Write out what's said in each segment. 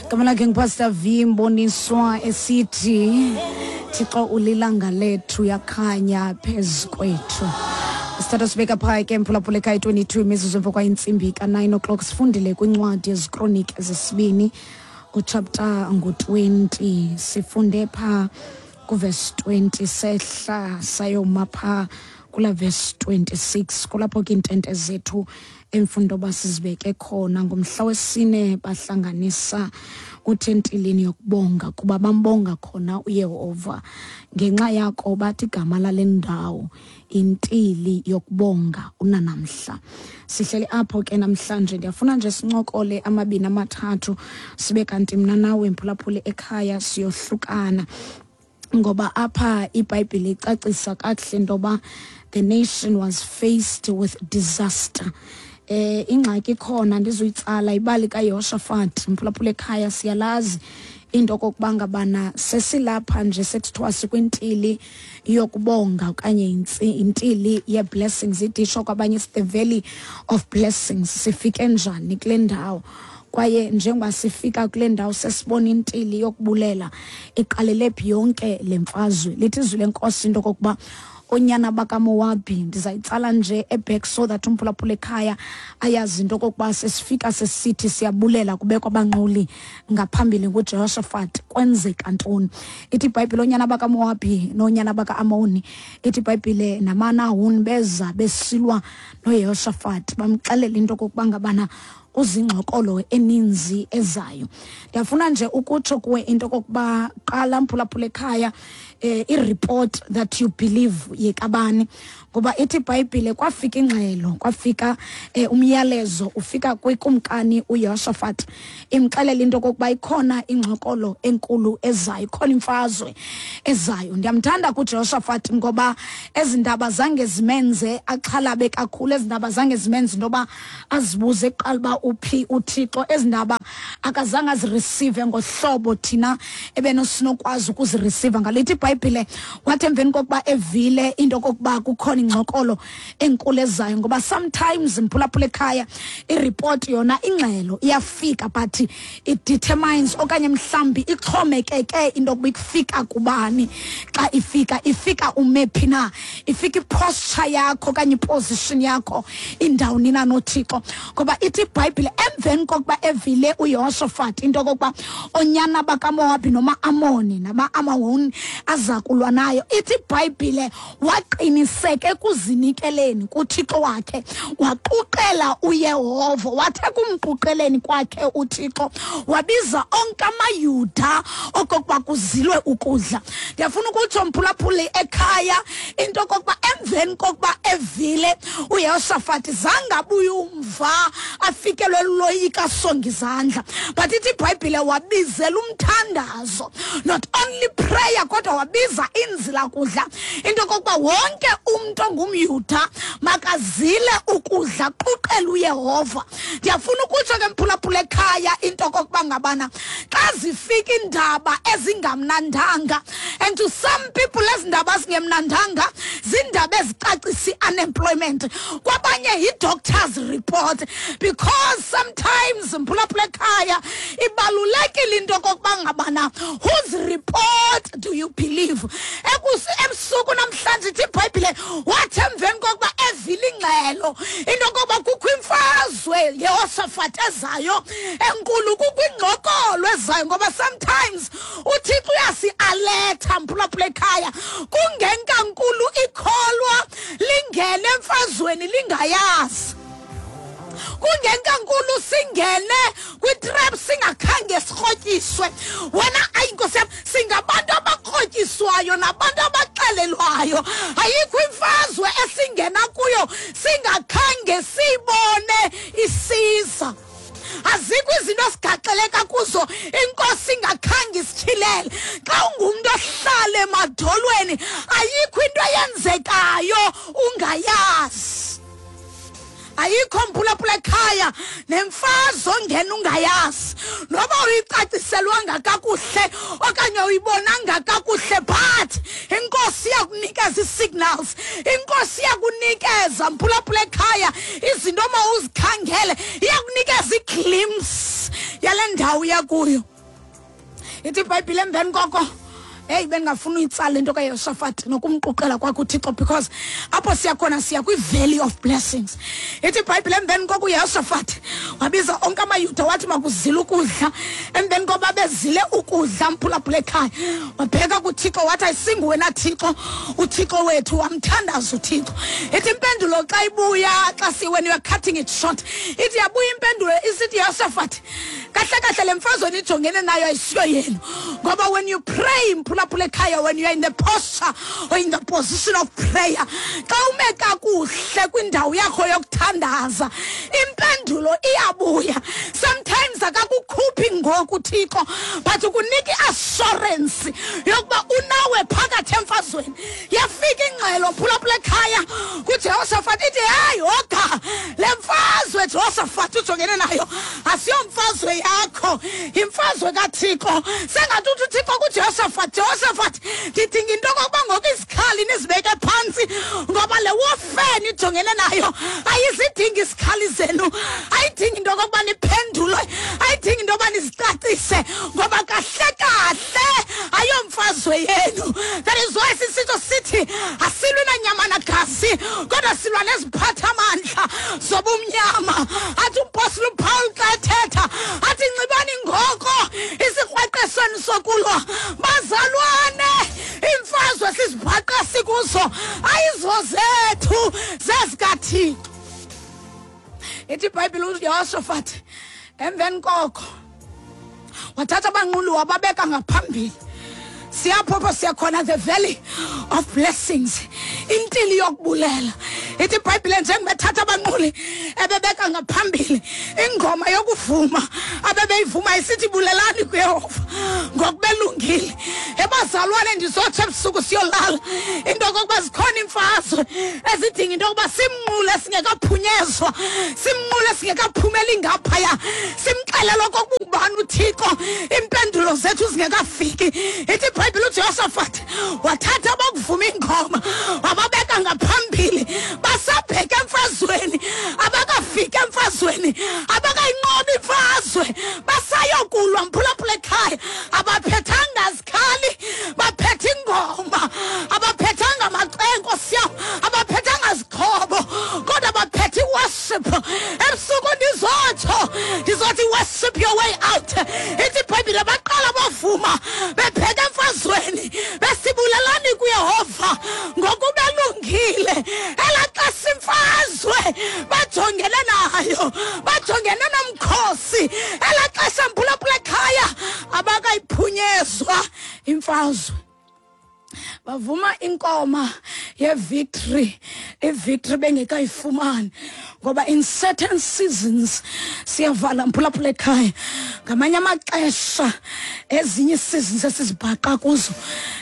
Igama lakhe nguPastor V Mboniswa esithi Thixo ulilanga lethu yakhanya phezu kwethu. Sithatha sibeka phaya ke mphulaphula ekhaya 22 imizuzu emva kwayintsimbi ka-9 o'clock. Sifundile kwincwadi yezikroniki zesibini uchapter ngu-20, sifunde phaa kuvesi 20 sehla sayoma phaa kula verse 26, kulapho ke iintente zethu emfundo basizibeke khona. Ngomhla wesine bahlanganisa uthentilini yokubonga, kuba bambonga khona uYehova ngenxa yako, bathi igama lale ndawo intili yokubonga unanamhla. Sihleli apho ke namhlanje. Ndiyafuna nje sincokole amabini amathathu, sibe kanti mna nawe mphulaphuli ekhaya siyohlukana, ngoba apha iBhayibhile icacisa kakuhle into yoba the nation was faced with disaster. Ingxaki ikhona, ndizuyitsala ibali kaYehoshafat mphulaphula ekhaya. Siyalazi into okokuba ngabana sesilapha nje sekuthiwa sikwintili yokubonga okanye intili ye-blessings, idisho kwabanye it's the valley of blessings. Sifike njani kule ndawo? Kwaye njengoba sifika kule ndawo sesibona intili yokubulela, iqalele phi yonke le mfazwe? Lithi izwi lenkosi into okokuba onyana bakaMowabi, ndizayitsala nje eback so that umphulaphula ekhaya ayazi into okokuba sesifika sesithi siyabulela, kubekwa abanquli ngaphambili nguJehoshaphat, kwenzeka ntoni? Ithi iBhayibhile onyana bakaMowabi noonyana baka-Amoni, ithi iBhayibhile namanahuni, beza besilwa noYehoshaphat, bamxelela into okokuba ngabana uzingxokolo eninzi ezayo. Ndiyafuna nje ukutsho kuwe into okokuba qala mphulaphula ekhaya, i-report that you believe yekabani, ngoba ithi iBhayibhile kwafika ingxelo, kwafika umyalezo ufika kwikumkani uYehoshaphat, imxelela into okokuba ikhona ingxokolo enkulu ezayo, ikhona imfazwe ezayo. Ndiyamthanda kuJehoshaphat ngoba ezi ndaba zange zimenze axhalabe kakhulu, ezi ndaba zange zimenze into yoba azibuze kuqala uba uphi uThixo. Ezi ndaba akazange azireceive ngohlobo thina ebenosinokwazi ukuzireceive ngalo. Ithi iBhayibhile wathi emveni kokuba evile into okokuba kukhona ingxokolo enkulu ezayo, ngoba sometimes mphulaphula ekhaya ireport yona, ingxelo iyafika, but it determines okanye mhlawumbi ixhomekeke into yokuba ikufika kubani. Xa ifika, ifika ume phi na, ifika iposture yakho okanye iposition yakho indawoni na noThixo. Ngoba ithi iBhayibhile emveni kokuba evile uYehoshafat into okokuba onyana bakaMowabi noma-Amoni nama-Amahoni aza kulwa nayo, ithi iBhayibhile waqiniseka ekuzinikeleni kuThixo wakhe, waquqela uYehova. Wathi ekumquqeleni kwakhe uThixo wabiza onke amaYuda okokuba kuzilwe ukudla. Ndiyafuna ukutsho mphulaphuli ekhaya into okokuba emveni kokuba evile uYehoshafati zange abuye umva afikelwe luloyika asonga izandla, but ithi iBhayibhile wabizela umthandazo, not only prayer, kodwa wabiza inzila kudla, into okokuba wonke umntu ongumYuda makazile ukudla, quqela uYehova. Ndiyafuna ukutsho ke mphulaphula ekhaya into okokuba ngabana xa zifika iindaba ezingamnandanga, and to some people ezi ndaba zingemnandanga ziindaba ezicacisa i-unemployment, kwabanye yi-doctor's report, because sometimes mphulaphula ekhaya ibalulekile into okokuba ngabana whose report do you believe? Ebusuku namhlanje ithi iBhayibhile wathi emveni kokuba evile ingxelo into yokokuba kukho imfazwe Yehoshafat ezayo enkulu, kukho ingxokolo ezayo, ngoba sometimes uThixo uyasi-alerta mphulaphula ekhaya, kungenkankulu ikholwa lingene emfazweni lingayazi, kungenkankulu singene kwitrap singakhange sirhotyiswe. Wena, ayi nkosi yam, singabantu abakrotyiswayo nabantu abaxelelwayo. Ayikho imfazwe esingena kuyo singakhange siyibone isiza. Azikho izinto esigaxeleka kuzo inkosi ingakhange isityhilele. Xa ungumntu ohlala emadolweni, ayikho into eyenzekayo ungayazi. Ayikho mphulaphula ekhaya nemfazwe ongena ungayazi, noba uyicaciselwanga kakuhle okanye uyibonanga kakuhle, but inkosi iyakunikeza ii-signals, inkosi iyakunikeza mphulaphula ekhaya izinto omawuzikhangele, iyakunikeza iglimpse yale ndawo uya kuyo. Ithi iBhayibhile emveni koko, heyi, bendingafuna uyitsala into kaYehoshafati nokumquqela kwakhe uThixo, because apho siya khona siya kwi-valley of blessings. Ithi iBhayibhile emveni koko uYehoshafati wabiza onke amaYuda, wathi makuzile ukudla. Emveni koba bezile ukudla, mphulaphula ekhaya, wabheka kuThixo wathi, ayisinguwe na Thixo uThixo wethu? Wamthandaza uThixo. Ithi impendulo xa ibuya, xa si when you are cutting it short, ithi yabuya impendulo isithi, Yehoshafati, kahle kahle le mfazwe nijongene nayo ayisiyo yenu. Ngoba when you pray, mphulaphula ekhaya, when you are in the posture or in the position of prayer, xa ume kakuhle kwindawo yakho yokuthandaza, impendulo iyabuya. Sometimes akakukhuphi ngoku Thixo, but ukunika i-assurance yokuba unawe phakathi emfazweni. Yafika ingxelo, mphulaphula ekhaya, kuJehoshafat, ithi, heyi, hoga le mfazwe Jehoshafat ujongene nayo asiyomfazwe yakho, yimfazwe kaThixo. Sengathi uthi uThixo kuJehoshafat, Jehoshafat, ndidinga into okokuba ngoku izikhali nizibeke phantsi, ngoba le warfare nijongene nayo ayizidingi izikhali zenu, ayidingi into okokuba niphendulwe, ayidingi into yoba nizicacise, ngoba kahle kahle ayomfazwe yenu. That is why sisitsho sithi asilwi nanyama nagazi, kodwa silwa neziphathamandla zobumnyama. Athi umpostile uPaul xa ethetha athi, nxibani ngoko isikrweqesweni sokulwa. Bazalwane, iimfazwe sizibhaqa sikuzo ayizo zethu, zezikaThixo. Ithi iBhayibhile uYehoshafati emveni koko wathatha abanquli wababeka ngaphambili. Siyaphopha, siyakhona, the valley of blessings, intili yokubulela. Ithi iBhayibhile njengoba ethatha abanquli ebebeka ngaphambili, ingoma yokuvuma abebeyivuma isithi, bulelani kuYehova ngokubelungile. Ebazalwane, ndizotsho ebusuku siyolala into okokuba zikhona iimfazwe ezidinga into yokuba simnqule singekaphunyezwa, simnqule singekaphumeli ngaphaya, simxelele okokuba ungubani uThixo iimpendulo zethu zingekafiki. Ithi iBhayibhile uJehoshafat wathatha abokuvuma ingoma wababeka ngaphambili, basabheka emfazweni, abakafiki emfazweni, abakayinqobi imfazwe, basayokulwa, mphulaphula ekhaya. Abaphethanga zikhali, baphethe ingoma. Abaphethanga macengo siyam, abaphethanga zixhobo, kodwa baphethe iworship. Ebusuku ndizotsho, ndizothi worship your way out. Ithi iBhayibhile baqala bavuma bebheka emfazweni, besibulelani kuYehova ngokuba elungile. Elaa xesha imfazwe bajongene nayo, bajongene nomkhosi, elaa xesha, mphulaphula ekhaya, abakayiphunyezwa imfazwe, bavuma inkoma ye-victory, i-victory bengekayifumani. Ngoba in certain seasons, siyavala mphulaphula ekhaya, ngamanye amaxesha ezinye ii-seasons esizibhaqa kuzo,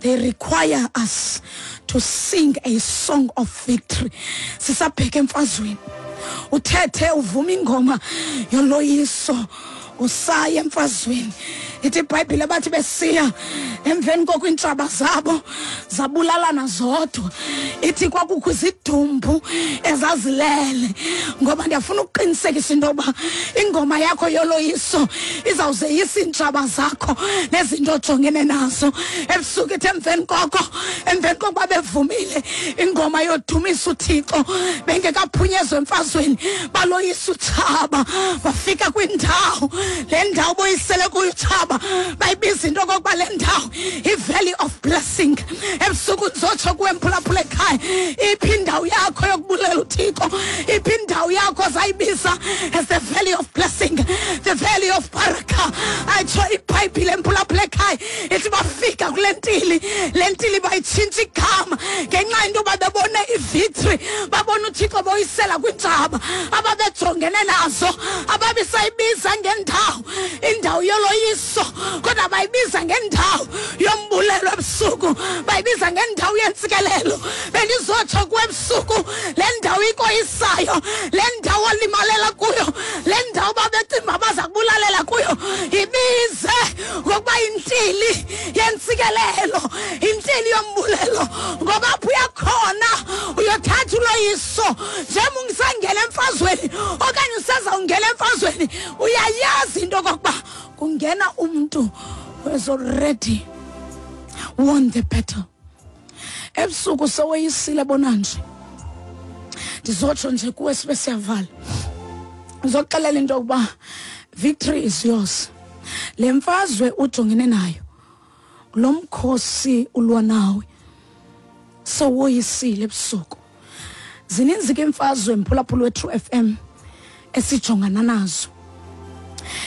they require us to sing a song of victory sisabheka emfazweni. Uthethe uvuma ingoma yoloyiso usaya emfazweni. Ithi iBhayibhile bathi besiya emveni koko iintshaba zabo zabulalana zodwa. Ithi kwakukho izidumbu ezazilele. Ngoba ndiyafuna ukuqinisekisa into yokuba ingoma yakho yoloyiso izawuzeyisa iintshaba zakho nezinto ojongene nazo. Ebusuku ithi emveni koko, emveni kokuba bevumile ingoma yodumisa uThixo bengekaphunyezwa emfazweni, baloyisa utshaba, bafika kwindawo. Le ndawo boyisele kuyo utshaba bayibiza into okokuba le ndawo i-valley of blessing. Ebusuku ndizotsho kuwe mphulaphula ekhaya, iphi indawo yakho yokubulela uThixo? Iphi indawo yakho zayibiza as the valley of blessing, the valley of baraka? Ayitsho iBhayibhile emphulaphula ekhaya, ithi bafika kule ntili, le ntili bayitshintsha igama ngenxa yento yoba bebone ivictory, babona uThixo boyisela kwiintshaba ababejongene nazo. Ababisayibiza ngendawo indawo yoloyiso, kodwa bayibiza ngendawo yombulelo. Ebusuku bayibiza ngendawo yentsikelelo. Bendizotsho kuwe ebusuku, le ndawo ikoyisayo, le ndawo olimalela kuyo, le ndawo babecimba baza kubulalela kuyo, ibize ngokuba yintili yentsikelelo, intili yombulelo, ngoba apho uyakhona uyothatha uloyiso. Njengoba ungisangena emfazweni okanye usezawungena emfazweni, uyayazi into okokuba kungena umntu who has already won the battle. Ebusuku seweyisile bona nje. Ndizotsho nje kuwe sibe siyavala. Ndizoxelela into yokuba victory is yours. Le mfazwe ujongene nayo, lo mkhosi ulwa nawe, sewoyisile ebusuku. Zininzi ke imfazwe mphulaphula we-True FM esijongana nazo.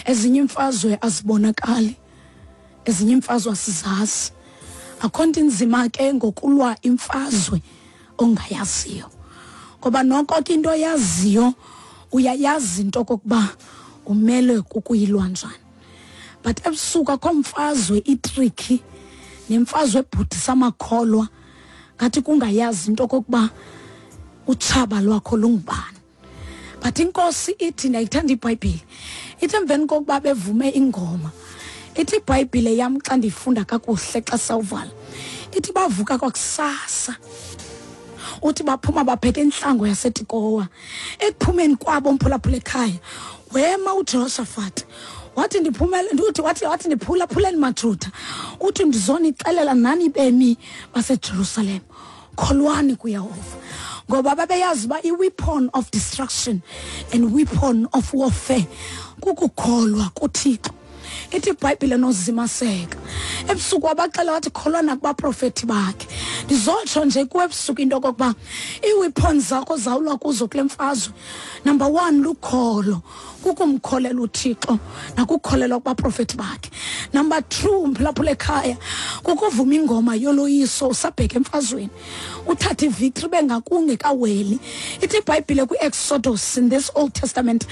Ezinye imfazwe azibonakali, ezinye imfazwe asizazi. Akho nto inzima ke ngokulwa imfazwe ongayaziyo, ngoba noko ke into oyaziyo uyayazi into okokuba umele kukuyilwa njani. But ebusuku akho mfazwe itriki nemfazwe ebhudisa amakholwa ngathi kungayazi into okokuba utshaba lwakho lungubani. But inkosi ithi, ndiyayithanda iBhayibhile, ithi emveni kokuba bevume ingoma, ithi iBhayibhile yam xa ndiyifunda kakuhle xa sawuvala, ithi bavuka kwakusasa, uthi baphuma babheka entlango yaseTikowa. Ekuphumeni kwabo mphulaphula ekhaya, wema uJehoshaphat wathi ndiphumele, uthi wathi wathi ndiphulaphuleni maJuda, uthi ndizonixelela nani bemi baseJerusalem, kholwani kuYehova. Ngoba babeyazi uba i-weapon of destruction and weapon of warfare kukukholwa kuThixo. Ithi iBhayibhile nozimaseka. Ebusuku wabaxela wathi kholwa nakubaprofethi bakhe. Ndizotsho nje kuwe ebusuku into okokuba ii-weapons zakho zawulwa kuzo kule mfazwe. Number 1, lukholo, kukumkholela uThixo nakukholelwa kubaprofethi bakhe. Number 2, mphulaphula ekhaya, kukuvuma ingoma yoloyiso usabheka emfazweni, uthathe ivictory bengakungekaweli. Ithi iBhayibhile kwi-Exodus in this Old Testament,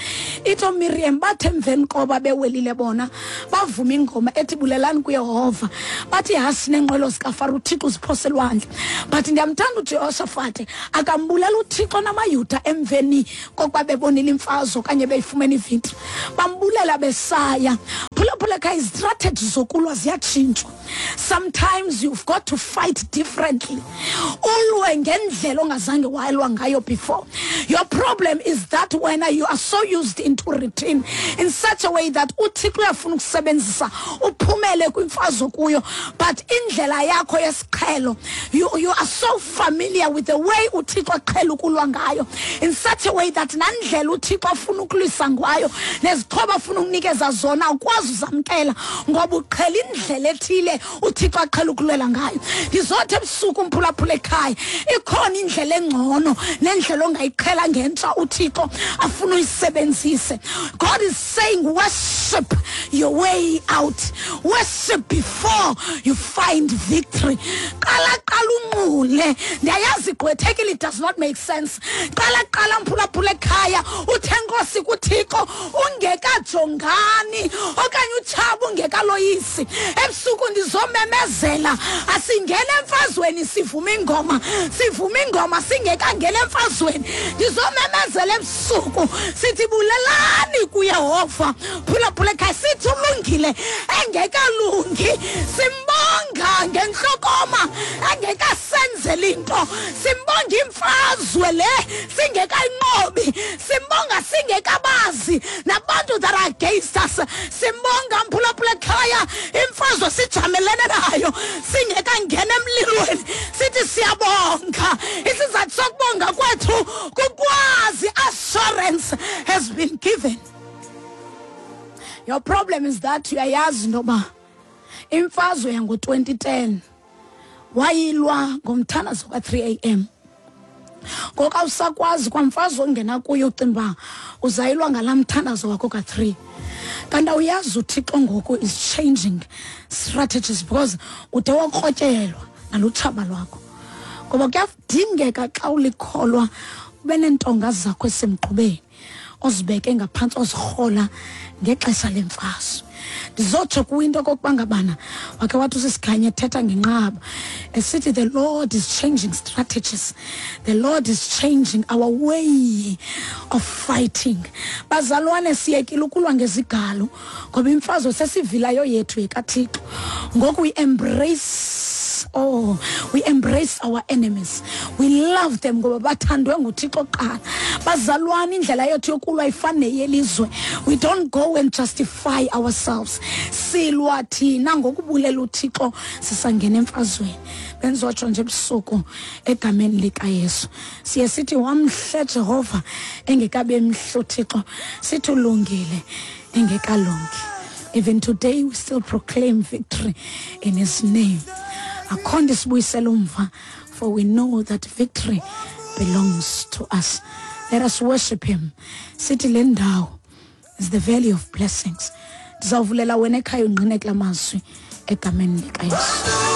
ithi oMiriam bathe emveni koba bewelile bona bavuma ingoma ethi bulelani kuYehova, bathi hasi neenqwelo zikaFaro uThixo uziphose elwandle. But ndiyamthanda uJehoshaphat, akambulela uThixo namaYuda emveni kokuba bebonile imfazwe okanye beyifumene ivictory, bambulela besaya. Phulaphula ekhaya, izistrategy zokulwa ziyatshintshwa. Sometimes you've got to fight differently. Ulwe ngendlela ongazange walwa ngayo before. Your problem is that when you are so used into routine in such a way that uThixo uyafuna ukusebenzisa uphumele kwimfazwe kuyo, but indlela yakho yesiqhelo, you are so familiar with the way uThixo aqhela ukulwa ngayo in such a way that nandlela uThixo afuna ukulwisa ngayo nezixhobo afuna ukunikeza zona awukwazi uzamkela ngoba uqhela indlela ethile uThixo aqhela ukulwela ngayo. Ndizothi ebusuku mphulaphula ekhaya, ikhona indlela engcono nendlela ongayiqhela ngentsha uThixo afuna uyisebenzise. God is saying worship your way out. Worship before you find victory. Qala qala unqule. Ndiyayazi igqwethekile, it does not make sense. Qala qala mphulaphula ekhaya, uthe Nkosi kuThixo ungekajongani okanye utshaba ungekaloyisi. Ebusuku ndizomemezela, asingene emfazweni sivuma ingoma, sivuma ingoma singekangena emfazweni. Ndizomemezela ebusuku sithi bulelani kuYehova. Phulaphula ekhaya, sithi ulungile engekalungi, simbonga ngenhlokoma engekasenzeli into, simbonga imfazwe le singekayinqobi, simbonga singekabazi nabantu that are against us, simbonga mphulaphula ekhaya imfazwe sijamelene nayo singekangena emlilweni, sithi siyabonga. Isizathu sokubonga kwethu kukwazi assurance has been given. Your problem is that uyayazi intoba imfazwe yango-2010 wayilwa ngomthandazo ka-3 a.m. Ngoku awusakwazi kwamfazwe ongena kuyo ucinga uba uzayilwa ngalaa mthandazo wakho ka-3. Kanti awuyazi uThixo ngoku is changing strategies because ude wakrotyelwa nalutshaba lwakho. Ngoba kuyadingeka xa ulikholwa ube neentonga zakho esemgqubeni ozibeke ngaphantsi ozirhola ngexesha lemfazwe. Ndizotsho kuwe into okokuba ngabana wakhe wathi usisikhanye ethetha ngenqaba esithi the Lord is changing strategies, the Lord is changing our way of fighting. Bazalwane, siyekile ukulwa ngezigalo ngoba imfazwe sesivilayo yethu yekaThixo. Ngoku we embrace enemies. Oh, we embrace our enemies, we love them, ngoba bathandwe nguThixo kuqala. Bazalwane, indlela yethu yokulwa ifane neyelizwe. We don't go and justify ourselves. Silwa thina ngokubulela uThixo sisangena emfazweni. Benzotsho nje ebusuku egameni likaYesu, siye sithi wamhle Jehova engekabe mhle uThixo, sithi ulungile engekalungi. Even today we still proclaim victory in his name. Akho nto isibuyisela umva, for we know that victory belongs to us. Let us worship him. Sithi le ndawo is the valley of blessings. Ndizawuvulela wena ekhaya ungqine kula mazwi egameni likaYesu.